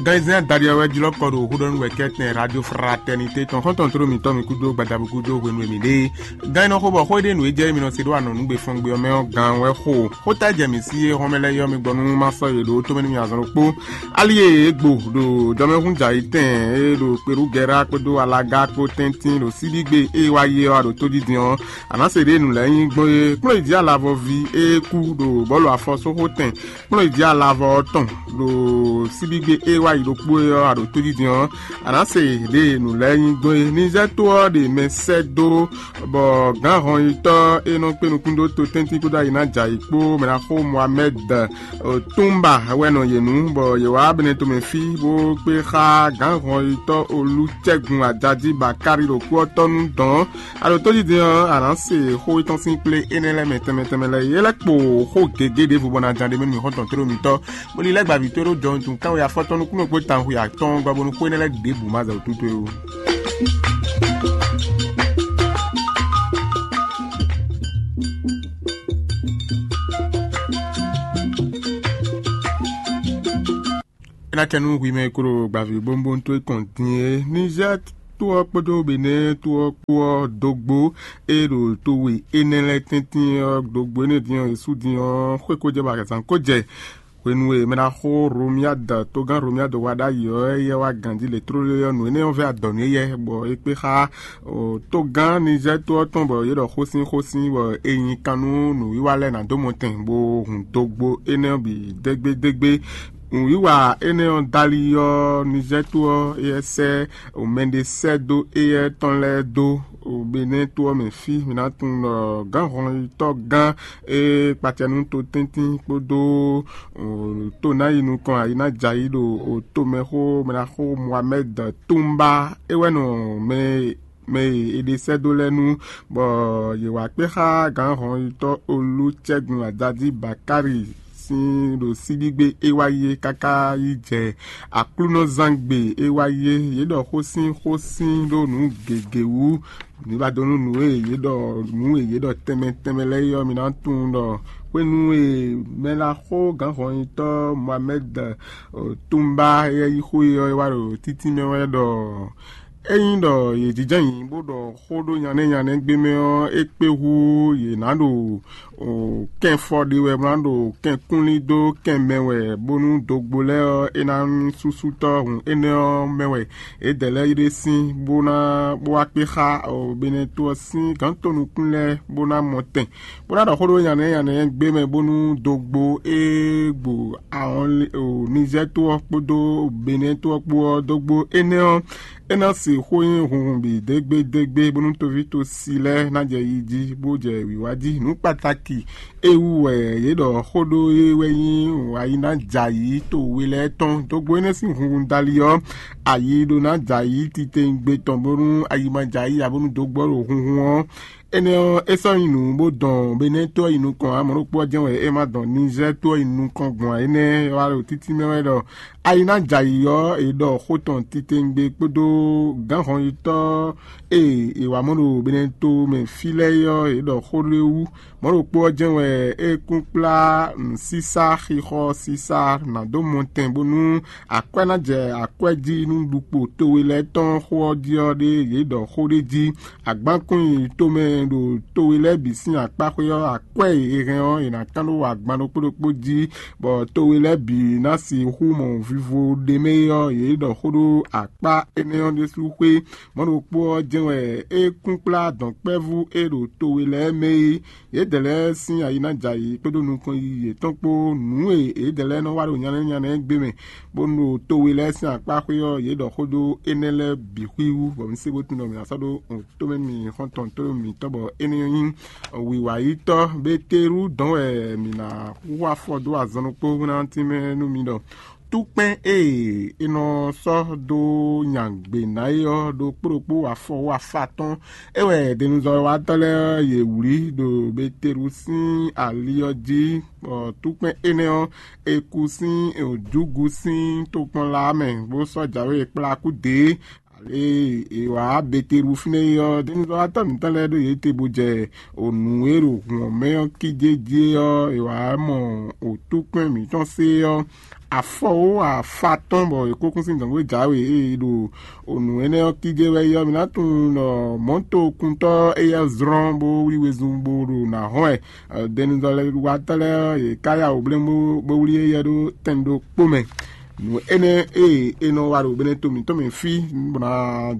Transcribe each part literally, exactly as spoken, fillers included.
Gan e zɛ́n adaɖi ɔ́ wɛ jlɔ́ kɔ ɖo xó ɖɔ nú wɛ̌kɛ́tɛn Radio Fraternité tɔn xɔ́ntɔn tló mǐtɔn mǐ kúdó gbadabú gúdo hwenu e mǐ ɖe é. Gan e nɔ xo bɔ xó e ɖe nǔ e jɛ émí nɔ se ɖó anɔ̌nugbe fɔngbe ɔ́ mɛ ɔ́, gan wɛ xo. Xóta e jɛ mǐ sí é hɔn mɛ lɛ́ɛ yɔ́ mi gbɔ nú má sɔ́ yě ɖó tomɛ nú mi azɔn ɖokpó. Ali e è gbo ɖo jɔmɛhún jɛ ayǐtɛn e ɖo Kperúgɛra kpódó Alaga kpó tɛ́ntin ɖo síbígbe e wá yi ɔ́, a ɖo tójijin ɔ́, a nǎ se ɖě nǔ lɛ́ɛ nyí gbɔn é. Kplɔ́n yi jí alavɔví e kú ɖo bɔ̌lu afɔsóxótɛn kplɔ́n yi jí alavɔ ɔ́ tɔn ɖo síbígbe e wá yi ɖokpó é ɔ́, a ɖo tójijin ɔ́, a nǎ se ɖě nǔ lɛ́ɛ nyí gbɔn é. Nizɛ́ tó ɔ́ ɖe mɛ sɛ́ dó bɔ gǎn hɔnyitɔ́ e nɔ kpé nukún dó to tɛ́ntin kpódó ayi ná jɛ ayǐ kpó mɛ ná xó Mohamɛ́d Túmba wɛ nɔ yě nu, bɔ yě wá Benɛtomɛ fí bó kpé xá gǎn hɔnyitɔ́ Olúcɛ́gun Ajají Bakári ɖo kú ɔ́ tɔ́ nú dɔ̌n. A ɖo tójijin ɔ́, a nǎ se xó étɔn sín kplé énɛ́ lɛ́ɛ mɛ tɛnmɛ tɛnmɛ lɛ́ɛ. É lɛ́ kpo xó gěgé ɖěvo bɔ ná ján ɖé mɛ nú mì xɔ́ntɔn tló mitɔ́, bó lílɛ́ gba vǐ towe ɖó jɔwuntun kánwe afɔtɔn nukúnnú kpó tawun xwe atɔ́ɔ́n gba bónú xó énɛ́ lɛ́ɛ ɖěbǔ ma zɛ wǔ tútú é ó. É ná tɛ nú hwi mɛ e ko ɖo gbavǐ bónbóntó é kɔn din é. Nizɛ́ tó ɔ́ kpódó Benɛ́ tó ɔ́ kpó ɔ́ dógbó e ɖo towe énɛ́ lɛ́ɛ tɛ́ntin ɔ́ dógbó énɛ́ din ɔ́, yě sú din ɔ́, xwé ko jɛ bɔ azǎn ko jɛ. Hwenu e mɛ ná xo Romiad, togán Romiad wá ɖ'ayǐ ɔ́, éyɛ́ wá ganjí lě tlóló ɔ́, nǔ énɛ́ ɔ́ vɛ́ adɔ̌ nú éyɛ́, bɔ é kpé xá togán Nizɛ́ tó ɔ́ tɔn, bɔ yě ɖɔ xósin xósin, bɔ è nyi kan nú nǔwiwa lɛ́ɛ ná dó mɔtɛn, bó hun dógbó énɛ́ ɔ́ bǐ dégbédégbé. Nǔwiwa énɛ́ ɔ́ dali ɔ́, Nizɛ́ tó ɔ́, éyɛ́ sɛ́ mɛɖé sɛ́ dó éyɛ́ tɔn lɛ́ɛ dó Benɛ́ tó ɔ́ mɛ fí. Mǐ ná tunwun ɖɔ gǎnhɔnyitɔ́ gán e kpacɛ nú totɛ́ntin kpódó to ná yi nukɔn ayǐ ná jɛ ayǐ ɖo tomɛxó mɛ ná xó Mohamɛ́d Túmbá. É wɛ nɔ mɛ mɛ e è ɖe sɛ́ dó lɛ́ɛ nu, bɔ yě wá kpé xá gǎnhɔnyitɔ́ Olúcɛ́gun Ajají Bakári sín ɖo síbígbe é wá yi é káká yi jɛ Aklúnɔzángbe é wá yi é. Yě ɖɔ xó sín xó sín ɖó nǔ gěgé wú. Mi ba dó nú nǔ e yě ɖɔ nǔ e yě ɖɔ tɛnmɛ tɛnmɛ lɛ́ɛ é ɔ́, mi ná tunwun ɖɔ hwenu e mɛ ná xó gǎnhɔnyitɔ́ Mohamɛ́d Túmbá é yí xó e ɔ́, é wá ɖo títí mɛ wɛ ɖɔ ényí ɖɔ yě jínjɔ́n ayǐ bó ɖɔ xó ɖó nyanɛ́ nyanɛ́ gbé mɛ ɔ́, é kpé hú yě ná ɖo kɛ́nfɔ ɖe wɛ, bó ná ɖo kɛ́nkúnlí dó kɛn mɛ wɛ, bónú dogbo lɛ́ɛ ɔ́, é ná nyí súsútɔ́ hun énɛ́ ɔ́ mɛ wɛ yědɛɛ lɛ́ɛ yi ɖe sín, bó ná bó wá kpé xá Benɛ́ to ɔ́ sín gǎntonukún lɛ́ɛ, bó ná mɔ tɛn, bó ná ɖɔ xó ɖó nyanɛ́ nyanɛ́ gbé mɛ, bónú dogbo e gbo ahɔn Nizɛ́ to ɔ́ kpódó Benɛ́ to ɔ́ kpó ɔ́ dó gbó énɛ́ ɔ́, é ná sixú nyí hunhun bǐ dégbédégbé, bónú toví tosi lɛ́ɛ ná jɛ yi jí, bó jɛ wǐwá jí. Nǔ kpataki e wú wɛ yě ɖɔ xó ɖó é wɛ nyí ayi ná jɛ ayǐ to we lɛ́ɛ tɔn. Dogbo énɛ́ sín hunhun dali ɔ́, ayi ɖó ná jɛ ayǐ titewungbe tɔn, bónú ayi ma jɛ ayǐ ǎ, bónú dogbo ɔ́ ɖo hunhun ɔ́, énɛ́ ɔ́, é sɔ́ nyi nǔ bó dɔn Benɛ́ to ɔ́ yi nukɔn ǎ. Mɔ̌ ɖokpó ɔ́ jɛ́n wɛ é ma dɔn Nizɛ́ to ɔ́ yi nukɔn gbɔn ǎ. Énɛ́ wá ɖo títí mɛ wɛ ɖɔ ayi ná jɛ ayǐ ɔ́, è ɖɔ xó tɔn titewungbe kpódó gǎnhɔnyitɔ́ e è wǎ mɔ ɖo Benɛ́ to mɛ fí lɛ́ɛ é ɔ́, è ɖɔ xó ɖé wú. Mɔ̌ ɖokpó ɔ́ jɛ́n wɛ é kún kplá nǔsísá xixɔ sísá ná dó mɔ tɛn, bónú akwɛ́ ná jɛ akwɛ́ jí nú ɖukpo towe lɛ́ɛ tɔn xó ɔ́ jí ɔ́ ɖé, yě ɖɔ xó ɖé jí. Agbankún yi tomɛ ɖo towe lɛ́ɛ bǐ sín akpáxwé ɔ́, akwɛ́ e è hɛn ɔ́, è nǎ kán ɖó agban ɖokpó ɖokpó jí, bɔ towe lɛ́ɛ bǐ ná sixú mɔ vivo ɖ'é mɛ é ɔ́, yě ɖɔ xó ɖó akpá énɛ́ ɔ́ ɖésú xwé. Mɔ̌ ɖokpó ɔ́ jɛ́n wɛ é kún kplá dɔ̌nkpɛ́vú e ɖo towe lɛ́ɛ mɛ é. Yědɛɛ lɛ́ɛ sín ayi ná jɛ ayǐ kpódó nukɔn yiyi yětɔn kpó nǔ e yědɛɛ lɛ́ɛ nɔ wa ɖo nyanɛ́ nyanɛ́ gbé mɛ, bónú ɖo towe lɛ́ɛ sín akpá xwé ɔ́, yě ɖɔ xó ɖó énɛ́ lɛ́ɛ bǐ xwíwú, bɔ mi se bó tunwun ɖɔ mǐ ná sɔ́ ɖó tomɛ nú mi xɔ́ntɔn tó mǐtɔn, bɔ énɛ́ nyí wǐwayítɔ́. Betelú dɔn wɛ mǐ ná hu afɔ dó azɔn ɖokpó ná tínmɛ nú mi ɖɔ túkpɛn e è nɔ sɔ́ dó nya gbě ná é ɔ́ ɖokpó ɖokpó afɔ wú afá tɔn. É wɛ denuzɔ́watɔ́ lɛ́ɛ ɔ́, yě wlí ɖo Betelú sín ali ɔ́ jí, bɔ túkpɛn énɛ́ ɔ́, è ku sín jǔgu sín tokpɔnla mɛ, bó sɔ́ jǎwe kplá kú dě. Ale e è wǎ Betelú fínɛ́ é ɔ́, denuzɔ́watɔ́ mǐtɔn lɛ́ɛ ɖo yě te bó jɛ nǔ e ɖo hǔn ɔ́ mɛ ɔ́ kíjé jí é ɔ́, è wǎ mɔ wǒtúkpɛ́n mǐtɔn sé ɔ́, afɔwó afa tɔn bɔ è kó kún sín dɔ̌nkpé jǎwe e è ɖo nǔ énɛ́ ɔ́ kíjé wɛ é ɔ́, mi ná tunwun ɖɔ mɔ̌tokuntɔ́ éyɛ́ zlɔ́n bó wlí wezun bó ɖo nǎ hɔn wɛ. Denuzɔ́lɛwatɔ́ lɛ́ɛ ɔ́, yě ká yá wǔ blɛ́ bó wlí éyɛ́ ɖó tɛn ɖokpó mɛ. Nǔ énɛ́ e è nɔ wa ɖo mɛɖé to mǐtɔn mɛ fí, bɔ ná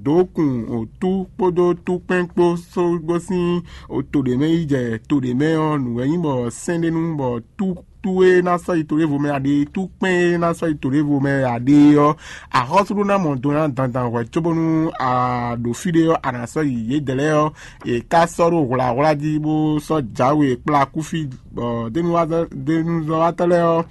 dó kun otú kpódó túkpɛ́n kpó só gosín to ɖě mɛ yi jɛ to ɖě mɛ ɔ́, nǔ wɛ nyí bɔ sɛ́n ɖé nu bɔ tú tú e ná sɔ́ yi to ɖěvo mɛ a ɖe, tú kpɛ́n e ná sɔ́ yi to ɖěvo mɛ a ɖe ɔ́, axɔ́sú ɖó ná mɔ do ná dandan hwɛ̌ cóbónú a ɖo fí ɖé ɔ́, a nǎ sɔ́ yi yědɛɛ lɛ́ɛ ɔ́, è ká sɔ́ ɖó hwlǎhwlá jí bó sɔ́ jǎwe kplá kú fí, bɔ dénúzɔ́watɔ́ lɛ́ɛ ɔ́,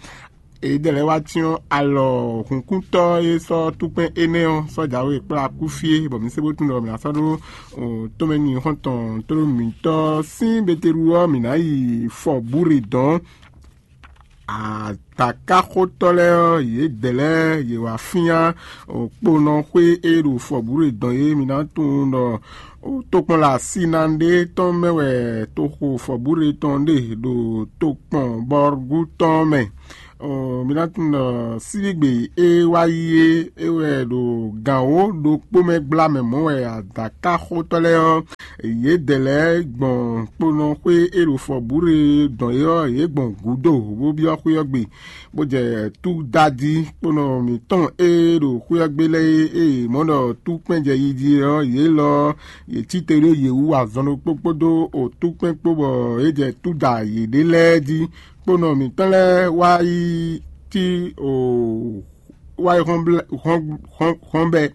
yědɛɛ lɛ́ɛ wá cyɔ́n alɔ hǔnkúntɔ́ e sɔ́ túkpɛn énɛ́ ɔ́ sɔ́ jǎwe kplá kú fí é, bɔ mǐ se bó tunwun ɖɔ mǐ ná sɔ́ ɖó tɔ́nmɛ nyi xɔ́ntɔn tlóló mǐtɔn sín Betelu ɔ́, mǐ ná yi fɔ bǔ ɖe dɔ̌n. Adakáxotɔ́ lɛ́ɛ ɔ́, yědɛɛ lɛ́ɛ yě wá fyán kponɔxwé e ɖo fɔbǔɖe dɔn é. Mi ná tunwun ɖɔ tokpɔnla Sinande tɔn mɛ wɛ toxo fɔbǔɖe tɔn ɖe ɖo tokpɔn Bɔrgu tɔn mɛ. Mi ná tunwun ɖɔ síbígbe e wá yi é, é wɛ ɖo gǎn wǒ ɖokpó mɛ gbla mɛ mɔ̌ wɛ adakáxotɔ́ lɛ́ɛ ɔ́, yědɛɛ lɛ́ɛ gbɔn kponɔxwé e ɖo fɔbǔɖe dɔn é ɔ́, yě gbɔn gǔdo bó byɔ́ xwé ɔ́ gbe, bó jɛ túdají kponɔ mǐtɔn e ɖo xwé ɔ́ gbe lɛ́ɛ é, e yě mɔ ɖɔ túkpɛn jɛ yi jí é ɔ́, yě lɔ ɔ́, yě cí te ɖó yě wú azɔn ɖokpó kpódó otúkpɛn kpó, bɔ é jɛ túda yěɖée lɛ́ɛ jí. Kponɔ mǐtɔn lɛ́ɛ wá yi cí o wá yi hɔn bɛ́,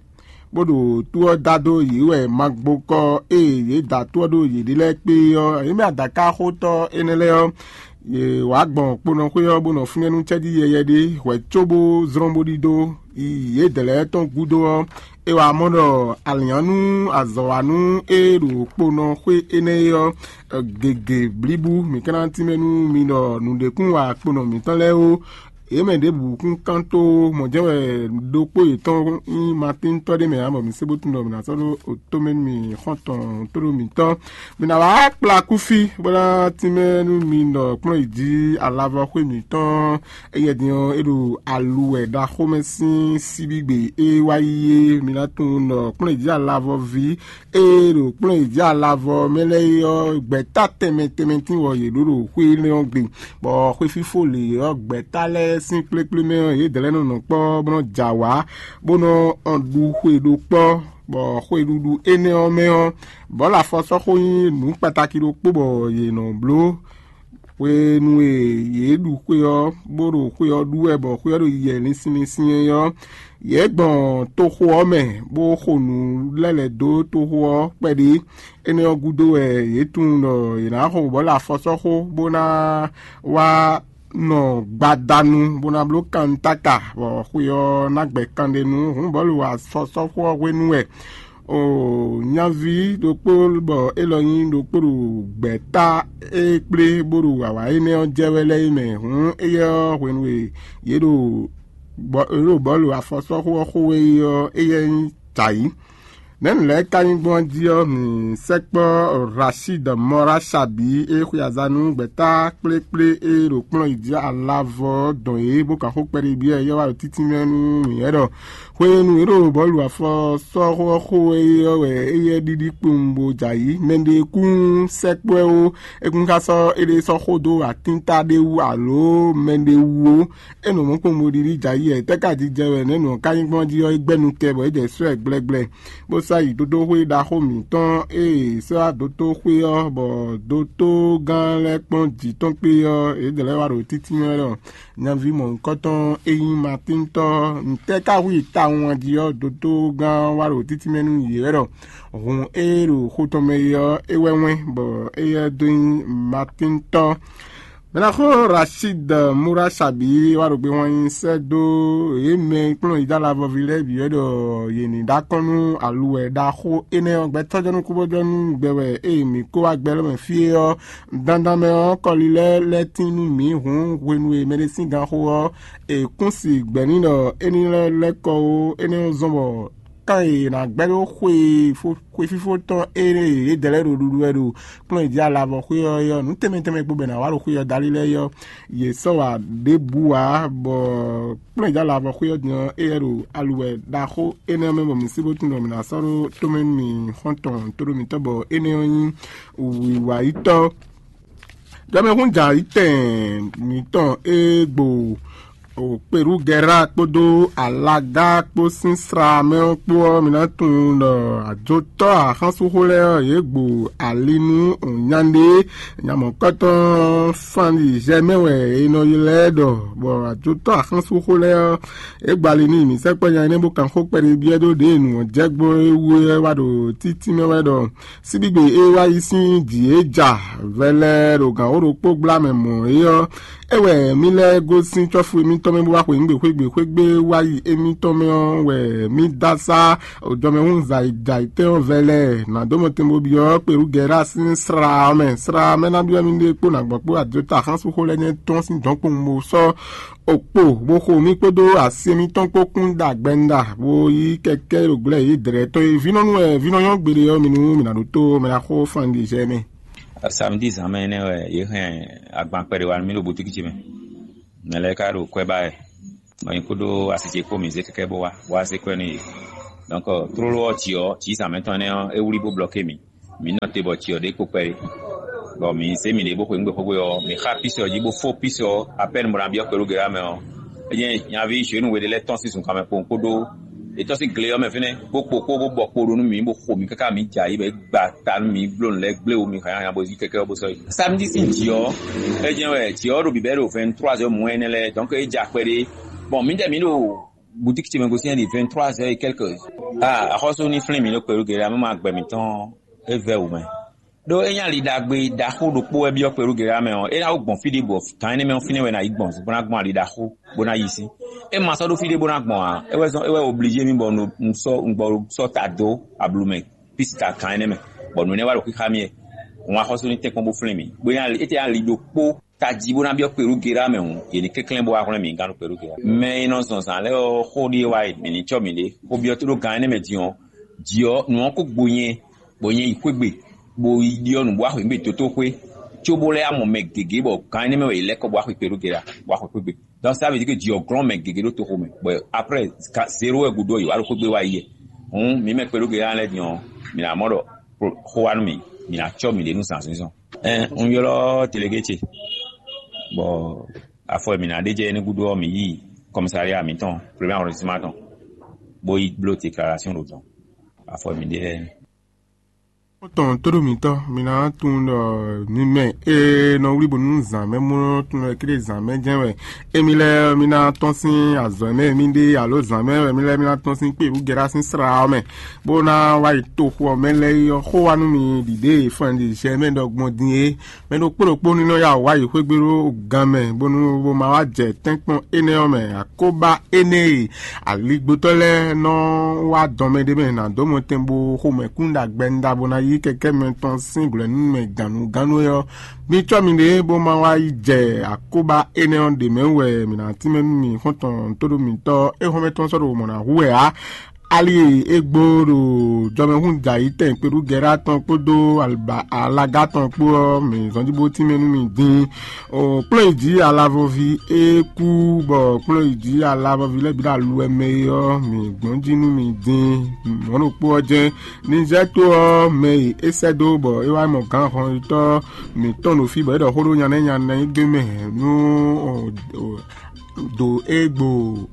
bó ɖo tó ɔ́ dá dó yě wɛ magbokɔ e yě da tó ɔ́ ɖó yěɖée lɛ́ɛ kpé ɔ́, yě mɛ adakáxotɔ́ énɛ́ lɛ́ɛ ɔ́, yě wá gbɔn kponɔxwé ɔ́, bó nɔ fínɛ́ nú cɛ́jí yɛyɛ ɖé hwɛ̌ cóbó zlɔ́n bó ɖidó yi yědɛɛ lɛ́ɛ tɔn gúdo ɔ́, é wá mɔ ɖɔ alǐannú azɔ̌wanú e ɖo kponɔxwé énɛ́ é ɔ́, gěgé blíbú. Mǐ ka ná tínmɛ nú mi ɖɔ nǔɖé kún wa kponɔ mǐtɔn lɛ́ɛ ó. Yě mɛ ɖěbǔ kún kán tó mɔ̌ jɛ́n wɛ ɖokpó yětɔn nyí Matíntɔ́ ɖé mɛ ǎ, bɔ mǐ se bó tunwun ɖɔ mǐ ná sɔ́ ɖó tomɛ nú mì xɔ́ntɔn tóɖó mǐtɔn. Mǐ ná wá kplá kúfí, bó ná tínmɛ nú mi ɖɔ kplɔ́n yi jí alavɔ xwé mǐtɔn. Éyɛ́ din ɔ́, é ɖo aluwɛ ɖaxó mɛ sín síbígbe e wá yi é. Mi ná tunwun ɖɔ kplɔ́n yi jí alavɔ ví e ɖo kplɔ́n yi jí alavɔ mɛ lɛ́ɛ é ɔ́, gbɛ̌ta tɛnmɛ tɛnmɛ tín wɔ yě ɖó ɖo xwé énɛ́ ɔ́ gbe, bɔ xwéfífó lě ɔ́, gbɛ̌ta lɛ́ɛ sín kplékplé mɛ ɔ́, yědɛɛ lɛ́ɛ nɔ nɔ kpɔ́ bó nɔ jɛ awǎ, bó nɔ ɖu xwe ɖó kpɔ́, bɔ xweɖuɖu énɛ́ ɔ́ mɛ ɔ́, bɔ̌lu afɔsɔ́xó nyí nǔ kpatáki ɖokpó bɔ yě nɔ bló. Hwenu e yě ɖu xwe ɔ́, bó ɖo xwe ɔ́ ɖu wɛ, bɔ xwe ɔ́ ɖo yiyɛ linsin linsin é ɔ́, yě gbɔn toxo ɔ́ mɛ, bó xo nǔ lɛ́ lɛ̌ dó toxo ɔ́ kpɛɖé. Énɛ́ ɔ́ gúdo wɛ yě tunwun ɖɔ yě ná xo bɔ̌lu afɔsɔ́xó, bó ná wá nɔ gbadanu, bó ná bló kantáka, bɔ xwe ɔ́ ná gbɛ kanɖe nú hǔn bɔ̌lu afɔsɔ́xó ɔ́ hwenu wɛ. O nyaví ɖokpó, bɔ élɔ́ nyí ɖokpó ɖo gbɛ̌ta e kplé bó ɖo awǎ énɛ́ ɔ́ jɛ wɛ lɛ́ɛ é mɛ hǔn, éyɛ́ ɔ́, hwenu e yě ɖo bɔ̌lu afɔsɔ́xó ɔ́ xo wɛ é ɔ́, éyɛ́ nyí jǎyi. Nɛ̌ nǔ lɛ́ɛ ka nyí gbɔn jí ɔ́, mǐ sɛkpɔ́ Rashid Mɔra Sabi e xwe aza nú gbɛ̌ta kplékplé e ɖo kplɔ́n yi jí alavɔ ɔ́ dɔn yě, bó kan xó kpɛɖé byɔ́ yɛ wá ɖo títínmɛ nú mǐ wɛ ɖɔ hwenu e ɖo bɔ̌lu afɔ sɔ́ xó ɔ́ xo wɛ é ɔ́ wɛ éyɛ́ ɖiɖi kpowun bó jɛ ayǐ. Mɛɖé kún sɛkpɔ́ ɛ ó, é kún ka sɔ́ éɖée sɔ́ xó dó atínta ɖé wú alo mɛɖé wú ó. É nɔ mɔ̌ kpowun bó ɖiɖi jɛ ayǐ wɛ, tɛ́ ka jijɛ wɛ nɛ̌ nǔ ɔ́ ka nyí gbɔn jí ɔ́, é gbɛ́ nu tɛ bɔ é jɛ sɔ́ ɛ gblɛ́gblɛ́, bó sɔ́ yi dótóxwé ɖaxó mǐtɔn e è sɔ́ wá dótóxwé ɔ́, bɔ dótógán lɛ́ɛ kpɔ́n jǐ tɔn kpé ɔ́, yě dlɛ̌ wá ɖo títínmɛ ɖɔ nyaví mɔ̌hunkɔtɔn e nyí Matíntɔ́ ɔ́, ntɛ́ ka hu i tawun a jí ɔ́, dótógán ɔ́ wá ɖo títínmɛ nú yě wɛ ɖɔ hǔn e ɖo xo tɔn mɛ é ɔ́, é wɛ wɛ́n, bɔ éyɛ́ dó nyí Matíntɔ́. Mɛɖaxó Rashid Mura Sabi wá ɖo gbe hɔn nyi sɛ́ dó yě mɛ e kplɔ́n yi dó alavɔví lɛ́ɛ bǐ wɛ ɖɔ yě ní ɖó akɔ́n nú aluwɛ ɖaxó énɛ́ ɔ́. Gbɛtɔ́jɔnú kúbɔ́jɔnú gbɛ wɛ ée mǐ kó wá gbɛ lɔ́ mɛ fí é ɔ́, dandan mɛ ɔ́, kɔli lɛ́ɛ lɛ́ tín nú mǐ hǔn hwenu e mɛɖé sín ganxó ɔ́, è kún si gbɛ̌ n'i ɖɔ é ní lɛ́ lɛ́ kɔ ó, énɛ́ ɔ́ zɔ́n bɔ kan e è nǎ gbɛ́ ɖó xwe fó- xwe fífó tɔn e yědɛɛ lɛ́ɛ ɖo ɖuɖu wɛ ɖo kplɔ́n e jí alavɔ xwé ɔ́ é ɔ́, nǔ tɛnmɛ tɛnmɛ kpo bɔ è nǎ wa ɖo xwé ɔ́ dali lɛ́ɛ é ɔ́, yě sɔ́ wa ɖěbǔ ǎ, bɔ kplɔ́n e jí alavɔ xwé ɔ́ din ɔ́, éyɛ́ ɖo aluwɛ ɖaxó énɛ́ ɔ́ mɛ bɔ mǐ sí bó tunwun ɖɔ mǐ ná sɔ́ ɖó tomɛ nú mì xɔ́ntɔn tóɖó mǐtɔn, bɔ énɛ́ ɔ́ nyí wǐwayítɔ́. Jɔmɛhún jǎ yi tɛn mǐtɔn e gbo Kperugɛra kpódó Alaga kpó sín sla mɛ ɔ́ kpó ɔ́, mi ná tunwun ɖɔ ajotɔ́ axánsúxó lɛ́ɛ ɔ́, yě gbo ali nú nyaɖé nyamɔ̌kɔ́tɔn Fanlizɛ́ mɛ wɛ è nɔ ylɔ́ ɛ ɖɔ, bɔ ajotɔ́ axánsúxó lɛ́ɛ ɔ́, é gbo ali n'i. Mǐ sɛkpɔ́ nya énɛ́ bó kan xó kpɛɖé byɔ́ dó ɖěe nǔ ɔ́ jɛ gbɔn é wú é wá ɖo títí mɛ wɛ ɖɔ síbígbe e wá yi sín jǐ e ja vɛlɛ ɖo gǎn wó ɖokpó gbla mɛ mɔ̌ é ɔ́, é wɛ mí lɛ́ gosín cɔ́fu émítɔn mɛ bó wá xweyǐgbe xwégbe xwégbe wá yi émítɔn mɛ ɔ́ wɛ mí dó asá jɔmɛhún zayizayitɛ́ ɔ́ vɛlɛ nǎ dó mɔ tɛn bó byɔ́ Kperugɛra sín sra ɔ́ mɛ. Sra ɔ́ mɛ ná byɔ́ mí ɖe kpó nǎgbɔ́ kpó adota xánsúxó lɛ́ɛ nyɛ tɔn sín dɔ̌nkpowun bó sɔ́ okpo, bó xo mì kpódó asi mǐtɔn kpó kún ɖo agbɛnda, bó yí kɛkɛ ɖo glɛ́ yě dlɛ̌ tɔn e vínɔ́ nú wɛ vínɔ́ nyɔ́ gbeɖé ɔ́, mi nú mǐ ná ɖótó mɛ ná xó fandijɛ mɛ. Samedi zǎnmɛ énɛ́ wɛ yě hɛn agban kpɛɖé wá nú mì ɖo boutique ce mɛ. Mɛ lɛ́ɛ ka ɖo kwɛ́ ba wɛ. Nɔ nyi kpódó asi ce kpó mǐ zé kɛkɛ bó wá, bó wá zé kwɛ́ nú yě. Donc, tlóló ɔ́, jǐ ɔ́, jǐ zǎnmɛ tɔn énɛ́ ɔ́, é wlí bó blɔké mǐ. Mǐ nɔ te bɔ jǐ ɔ́ ɖe kpo kpɛɖé. Bɔ mǐ zé mǐɖée bó xweyǐgbe xwé ɔ́, mǐ xa písi ɔ́ jí bó fó písi ɔ́ apɛ́n bó ná byɔ́ kpɛɖúgbe ɔ́ mɛ ɔ́, é nyí nyaví Zhenu we ɖé lɛ́ɛ tɔ́n sín zunkan mɛ kpowun kpódó yě tɔ́n sín gle ɔ́ mɛ fínɛ́, bó kpo kpó bó bɔ kpo ɖó nú mǐ, bó xo mǐ káká mǐ jɛ ayǐ bɔ é gba ta nú mǐ, bló nǔ lɛ́ɛ gblé wú mǐ hǎnnyáhánnyá bó zí kɛkɛ ɔ́ bó sɔ́ yi. Samedi sín jǐ ɔ́, é jɛ́n wɛ jǐ ɔ́ ɖo bǐbɛ́ ɖo vingt-trois heures moins énɛ́ lɛ́ɛ, donc é jɛ akpɛ ɖé. Bon, mǐdɛɛ mǐ ɖo boutique ce mɛ gosín ɖi vingt-trois heures et quelques. Ah, axɔ́sú ní flín mǐ ɖo kpɛɖúgbe ɔ́ mɛ ma gbɛ mǐtɔn é vɛ́ wǔ mɛ. Ɖó é nyí ali ɖagbe ɖaxó ɖokpó wɛ byɔ́ kpɛɖúgbe ɔ́ mɛ ɔ́, é ná wó gbɔn fí ɖěbǔ ɔ́, gǎn énɛ́ mɛ ɔ́ fínɛ́ wɛ è nǎ yi gbɔn bó ná gbɔn ali ɖaxó bó ná yi sí. É ma sɔ́ ɖó fí ɖé bó ná gbɔn ǎ, é wɛ zɔ́n é wɛ oblízé mì bɔ un sɔ́ un gbɔ sɔ́ ta dó ablu mɛ písi ta gǎn énɛ́ mɛ, bɔ nǔ énɛ́ wá ɖo xíxá mì wɛ. Hun axɔ́sú ní tɛ́nkpɔ́n bó flín mì, bó nyí ali étɛ́ ali ɖokpó tají bó ná byɔ́ kpɛɖúgbe ɔ́ mɛ hǔn, yě ní kɛnklɛ́n bó wá hwlɛ́n mǐ gán ɖo kpɛɖúgbe ɔ́. Mɛ e nɔ zɔn zǎn lɛ́ɛ ɔ́, xó ɖíe wá e mǐ ní cɔ́ mǐɖée, xó byɔ́ tó ɖó gǎn énɛ́ mɛ din ɔ́, jǐ ɔ́, nǔ ɔ́ kó gbo nyɛ, bɔ nyɛ yi xwé gbe, bó yi ɖyɔ́ nǔ bó wá xweyǐgbe tótó xwé, cóbó lɛ́ yá mɔ mɛ gěgé bɔ gǎn énɛ́ mɛ wɛ yě lɛ́ kɔ bó wá xwe kpɛɖúgbe ɔ́, bó wá xwe xwé gbe. Donc ça veut dire que jǐ ɔ́ glɔ́n mɛ gěgé ɖó toxo mɛ, bɔ après zéro wɛ gúdo ɔ́, yě wá ɖo xwé gbe wá yi yɛ. Hǔn mǐ mɛ kpɛɖúgbe ɔ́ lɛ́ɛ din ɔ́, mǐ ná mɔ ɖɔ xó wá nú mǐ, mǐ ná cɔ́ mǐɖée nú zǎnzínzɔn. Ɛn, un ylɔ́ delegé ce, bɔ afɔ e mǐ ná ɖe jɛ é ní gúdo ɔ́, mǐ yi kɔmísalia mǐtɔn, premier arrondissement tɔn, bó yi bló déclaration ɖo dɔn. Afɔ e mǐ ɖe lɛ́ɛ. Tɔn tóɖó mǐtɔn, mi ná tunwun ɖɔ mi mɛ e nɔ wlí bónú zǎn mɛ mɔ tunwun ɖɔ kéré zǎn mɛ jɛ́n wɛ émi lɛ́ɛ mi ná tɔ́n sín azɔ̌ mɛ mi ɖe alo zǎn mɛ wɛ mi lɛ́ɛ mi ná tɔ́n sín kpé wú gɛ́ɖá sín sra ɔ́ mɛ, bó ná wá yi toxo ɔ́ mɛ lɛ́ɛ yi ɔ́, xó wá nú mi ɖiɖě e fɔnɖi zɛ mɛ ɖɔ gbɔn din é. Mɛ ɖokpó ɖokpó ní nɔ ya wá yi xwé gbe ɖó gan mɛ, bónú bó ma wá jɛ tɛ́nkpɔ́n énɛ́ ɔ́ mɛ. Akóbá énɛ́ e aligbotɔ́ lɛ́ɛ nɔ wá dɔn mɛ ɖé mɛ ná dó mɔtɛn bó xomɛ kún ɖo agbɛnda bó ná yí kɛkɛ́ mɛ tɔn sín glɔ̌ nú mɛ gǎnnugánnu é ɔ́, mi cɔ́ miɖée bó ma wá yi jɛ akóbá énɛ́ ɔ́ ɖě mɛ wɛ mǐ ná tínmɛ nú mi xɔ́ntɔn tóɖó mǐtɔn é xɔ́mɛ tɔn sɔ́ ɖo mɔ̌ ná hu wɛ ǎ. Ali e é gbó ɖo jɔmɛhún dǎyítɛn kpeɖúgɛ́ɖá tɔn kpódó alaga tɔn kpó ɔ́, mǐ zɔ́n jí bó tínmɛ nú mi din. Kplɔ́nyijǐ alavɔví e kú bɔ kplɔ́nyijǐ alavɔví lɛ́ɛ bǐ ɖo aluwɛ mɛ é ɔ́, mǐ gbɔn jí nú mi din. Mɔ̌ ɖokpó ɔ́ jɛ́n Nizɛ́ɛ to ɔ́ mɛ e é sɛ́ dó bɔ é wá mɔ gǎn hɔnnyitɔ́ mǐtɔn ɖo fí bɔ é ɖɔ xó ɖó nya nɛ́ nya nɛ́ gbé mɛ nú do e gbo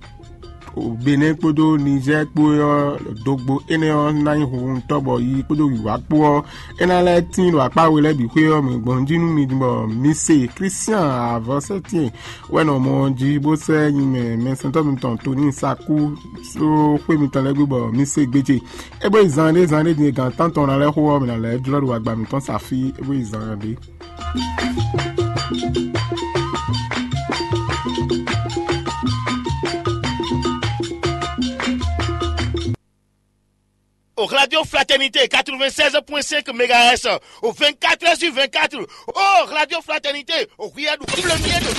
Benɛ́ kpódó Nizɛ́ɛ kpó ɔ́ dogbo énɛ́ ɔ́ ná nyí hunhuntɔ́ bɔ yi kpódó wǐwá kpó ɔ́, é ná lɛ́ tín ɖo akpá we lɛ́ɛ bǐ xwé ɔ́ mɛ gbɔn jí nú mi bɔ mi se Klístian avɔsɛ́tɛn wɛ nɔ mɔ ɔ́ jí bó sɛ́ nyi mɛ mɛsɛntɔ́ mitɔn Toníi Sakú só xwé mitɔn lɛ́ɛ gbe bɔ mi se gbéje. É bó yi zan ɖé zan ɖé din e gǎn tántɔn ná lɛ́ xo ɔ́, mǐ ná lɛ́ jlɔ́ ɖo agba mǐtɔn sa fí é bó yi zan ɖé. Au Radio Fraternité quatre-vingt-seize point cinq mégahertz, au vingt-quatre heures sur vingt-quatre. Oh, Radio Fraternité, au rien de premier de